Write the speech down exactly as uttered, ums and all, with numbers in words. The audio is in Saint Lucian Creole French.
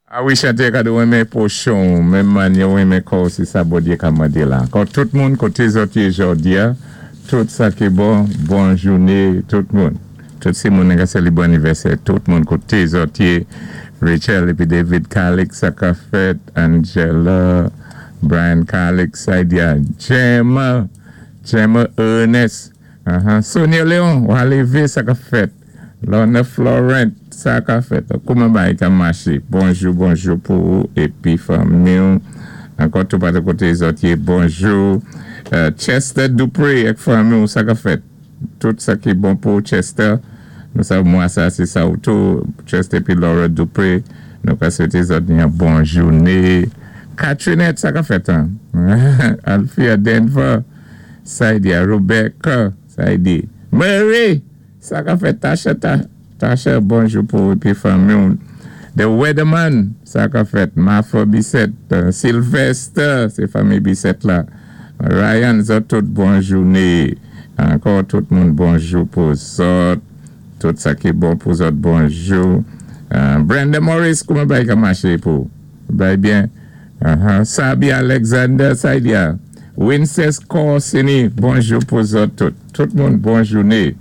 A wi, chanté ka di renmen pwochen, menm mannyè ou renmen kò ou, sé sa Bondyé ka mandé la. Ankò tout moun koté zòt yé jòdi a, tout sa ki bon, bon jouné, tout moun. Tout sé moun ka sélébwé anivèsè, tout moun koté zòt yé, Rachel épi David Calix, sa ka fèt, Angela, Brian Calix, Saidia, Gemma, Gemma Ernest, uh-huh. Sonia Leon, Walevé, sa ka fèt, Lorna Florent, sa ka fèt. Kouman bagay ka maché? Bonjou, bonjou pou ou, épi fanmi. Ankò tout patou koté zòt yé, bonjou. Euh, Chester Dupré, ak fanmi, sa ka fèt. Tout sa ki bon pou Chester. Nou sav mwa sa, sé sa ou tou. Chester épi Laura Dupré. Nou ka swété zòt yon bon jouné. Catrinette, sa ka fèt, hein? Althea Denver. Saidia, Rebecca, Saidi. Mary, sa ka fèt. Tasha, Ta, Tasha, bonjou pou épi fanmi. The Weatherman, sa ka fèt. Martha Bissett, euh, Sylvester, sé fanmi Bissett la. Ryan, zòt tout bon jouné. Ankò tout moun bonjou pou zòt. Tout sa ki bon pou zòt bonjou. Euh, Brenda Morris, kouman bagay ka maché pou? Bagay byen. Uh-huh. Sabi Alexander, Saidia. Wincest Corsini, bonjou pou zòt tout. Tout moun bon jouné.